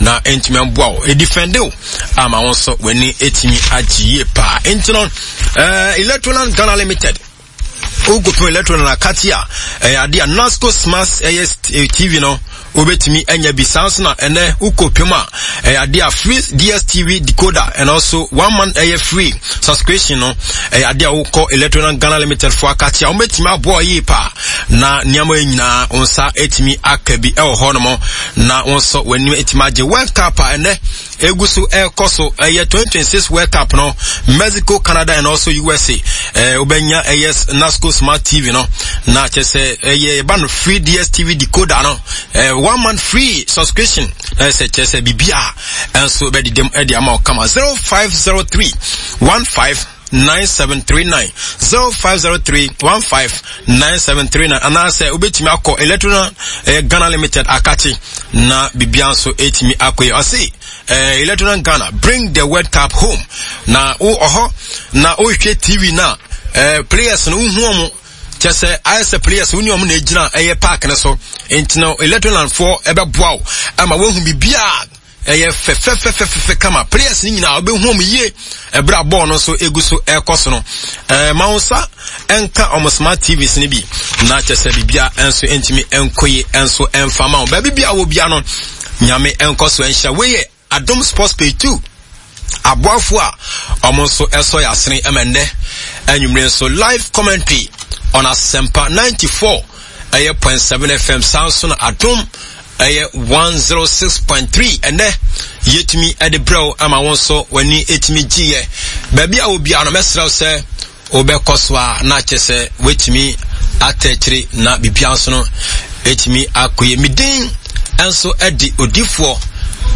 Na ɛntumi mboa wo, ɛdifɛnde wo ama wo nso w'ani ɛtumi agye yie paa. Nti no, Electroland Ghana Limited, wokɔpem Electroland akate a, ɛyɛ adeɛ a Nasco Smart ɛyɛ TV no wobɛtumi anya bi. Saa nso na ɛnɛ wokɔpem a, ɛyɛ adeɛ a free DSTV decoder and also 1 month ɛyɛ free subscription no, ɛyɛ adeɛ a wokɔ Electroland Ghana Limited fo akate a, wɔbɛtumi aboa yie paa na nneɛma yi nyinaa wo nsa ɛtumi aka bi ɛwɔ hɔ nom na wo nso w'anim ɛtumi agye. World Cup a ɛnɛ egu so ɛrekɔ so, ɛyɛ 2026 World Cup no, Mexico, Canada and also USA, wobɛnya ɛyɛ Nasco Smart TV no, na kyerɛ sɛ ɛyɛ ɛba no free DSTV decoder no, 1 month free subscription, na ɛsɛ kyerɛ sɛ biribi a ɛnso bɛdedam ɛde ama wo kama. 0503 15 9739, 0503 15 9739, anaasɛ wobɛtumi akɔ Electron Ghana Limited akakye na bibia nso ɛtumi akɔ yi. Ɔse Electron Ghana, bring the World Cup home. Na wo ɔhɔ na wohwɛ TV na players no wohu ɔmo, kyɛ sɛ ayɛ sɛ players wo ne ɔmo na ɛgyina ɛyɛ park no so. Nti no Electron foɔ ɛbɛboa wo ama woahu biribiaa ɛyɛ fɛfɛfɛfɛfɛ kama. Players no nyinaa wobɛhu ɔmo yie ɛberɛ a bɔɔl no nso egu so ɛrekɔ so no. Ma wo nsa ɛnka ɔmo smart TVs no bi na kyɛ sɛ biribia nso ntumi ɛnkɔ yie nso ɛmfa ma wo. Baabi bia wɔ bia no, Nyame ɛnkɔ so ɛnhyira. Wei yɛ Adom Sports Page 2 aboafo a ɔmo nso ɛsɔ yɛ asene ɛma nnɛ anwummere nso live commentary on Asempa 94 ɛyɛ 0.7 FM, saa nso na Adom ɛyɛ 106.3. Ɛnɛ yɛtumi ɛde brɛw ama wɔn nso w'ani ɛtumi gyeeɛ. Baabi a obiara no, mɛsrɛ wo sɛ wobɛkɔ so a na kyɛ sɛ woatumi atɛ akyire na biribia nso no ɛtumi akɔyɛ. Medin nso ɛde odifoɔ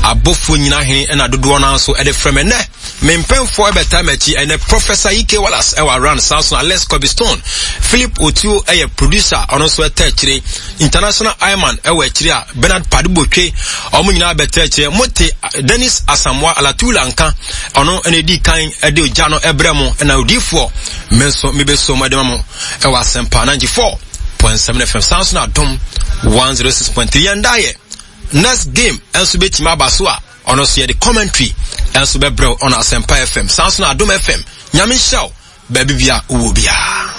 abɔfoɔ nyina hene ɛna dodoɔ no nso ɛde frɛ me. Ɛnɛ me mpɛnfoɔ ɛbɛtaa m'akyi ɛnɛ Professor Ike Wallace ɛwɔ around, saa nso Alex Kobe Stone, Philip Otuo ɛyɛ producer, ɔno nso ɛtɛ akyire, International Iman ɛwɔ akyire a Bernard Padubotwe, ɔmo nyinaa bɛtɛ akyire. Mote Dennis Asamoah Alatula nka, ɔno ɛna edi kan ɛde ogya no ɛbrɛ mo, ɛna odiifoɔ me nso mebɛso mo ɛde ma mo ɛwɔ Asɛmpa 94.7 FM, saa nso na Adom 106.3. Yɛn da yɛ next game ɛnso bɛtumi aba so a, ɔno nso yɛde commentary ɛnso bɛbrɛw ɔno Asɛmpa FM, saa nso na Adom FM. Nyame nhyira wo baabi bia wowɔ biara.